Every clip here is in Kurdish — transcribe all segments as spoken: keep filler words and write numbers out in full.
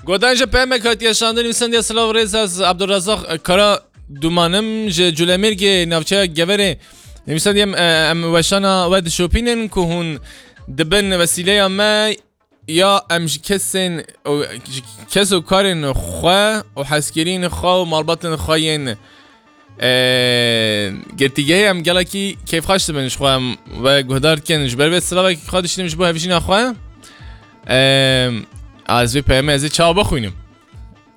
Godan ji P M K hatiye şandin, nivîsandiye silav rêz ez Abdurrezzaq Kara Dumanim ji Culemêrgê navçeya Geverê. Nivîsandiye em, e, em weşana we dişopînin ku hûn dibin wesîleya me ya em ji kesên û ji kes û karên xwe û hezkirîn xwe û malbatên xwe yên Ee, girtîgehê em gelekî kêfxweş dibin ji xwe em we guhdar dikin. Ji ber vê silavekî xwe dişînim ji bo hevjîna xwe. Ee, ez vê peyamê ez ê çawa bixwînim.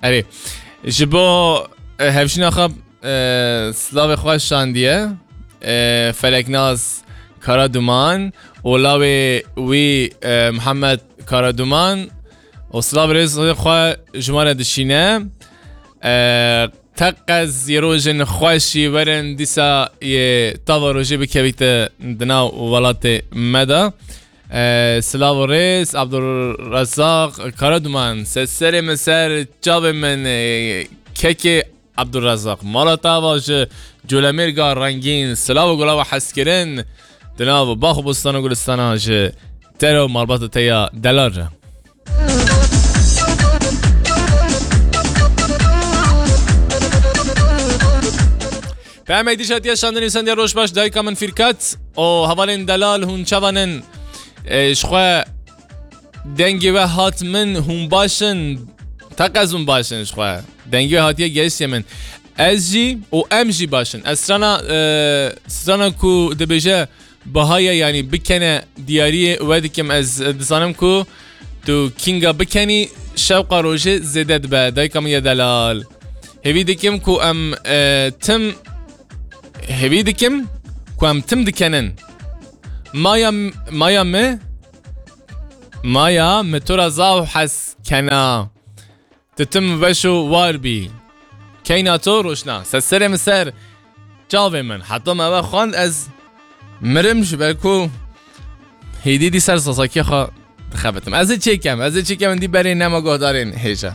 Erê, ji bo, e, hevjîna xwe, e, silavê xwe şandiye. E, Feleknaz Karaduman û lawê wî, e, Mihemed Karaduman û silav rêz xwe ji me re dişîne. E, Teqez yê rojên xweşî werin dîsa yê tava rojê bikevîte di nav welatê me de. E, silav û rêz, Abdurrezzaq Karaduman, se serê min ser çavê min, e, kekê Abdurrezzaq. Mala tava ji Colemêrga rengîn, silav û gulava hezkirin, di nav bax û bostan û gulistana ji te re û malbata te ya delal re. Peyamê dîş hatiye şandin, nivîsandiye roj baş dayika min Fîrkat û hevalên delal hûn çavan in? E, ji xwe dengê we hat min, hûn baş in? Teqez hûn baş in ji xwe. Dengê we hatiye gehiştiye min. Ez jî û em jî baş in. Ez strana, e, strana ku dibêje Bahaye, yanî bikene diyariyê we dikim, ez dizanim ku tu kînga bikenî, şewqa rojê zêde dibe. Dayika min ya delal. Hêvî dikim ku em, e, tim, hêvî dikim ku em tim dikenin. Maya, maya mi, maya mi tu re zaf hez kena. Tu tim weş û war bî. Keyna to roşna. Se serê min ser çavê min. Heta me ve xwend ez mirim ji ber ku hêdî dî ser sasakiya xwe dixebitim. Ez ê çêkem, ez ê çêkem dî berê nema guhdarên hêja.